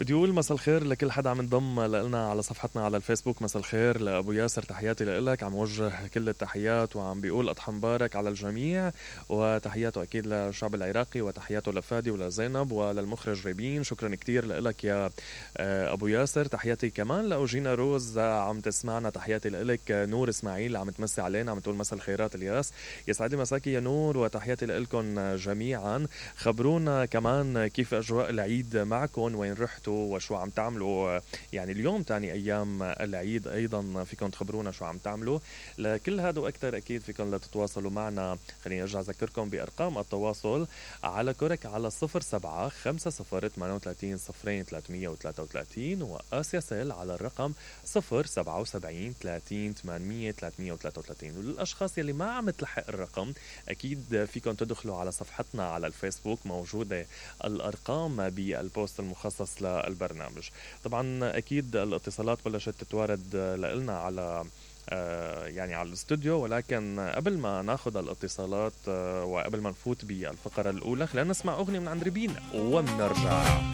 بدي اقول مساء الخير لكل حدا عم ينضم لنا على صفحتنا على الفيسبوك. مساء الخير لابو ياسر، تحياتي لك، عم وجه كل التحيات وعم بيقول اضحى مبارك على الجميع، وتحياته اكيد للشعب العراقي، وتحياته لفادي ولزينب وللمخرج ريبين. شكرا كتير لك يا ابو ياسر. تحياتي كمان لاوجينا روز عم تسمعنا، تحياتي لك. نور اسماعيل عم تمسي علينا، عم تقول مساء الخيرات الياس. يسعد لي مساكي يا نور، وتحياتي لكم جميعا. خبرونا كمان كيف اجواء العيد معكم، وين رحتوا وشو عم تعملوا. يعني اليوم تاني ايام العيد، ايضا فيكم تخبرونا شو عم تعملوا. لكل هذا واكثر اكيد فيكم تتواصلوا معنا. خليني ارجع اذكركم بارقام التواصل على كورك على 07-503-30-333 وآسيا سيل على الرقم 077-30-800-333. وللاشخاص يلي ما عم تلحق الرقم، اكيد فيكم تدخلوا على صفحتنا على الفيسبوك، موجوده الارقام بالبوست المخصص للبرنامج. طبعا اكيد الاتصالات بلشت تتوارد لنا على يعني على الاستوديو، ولكن قبل ما ناخذ الاتصالات وقبل ما نفوت بالفقرة الأولى، خلينا نسمع أغنية من عند ريبين ومنرجع.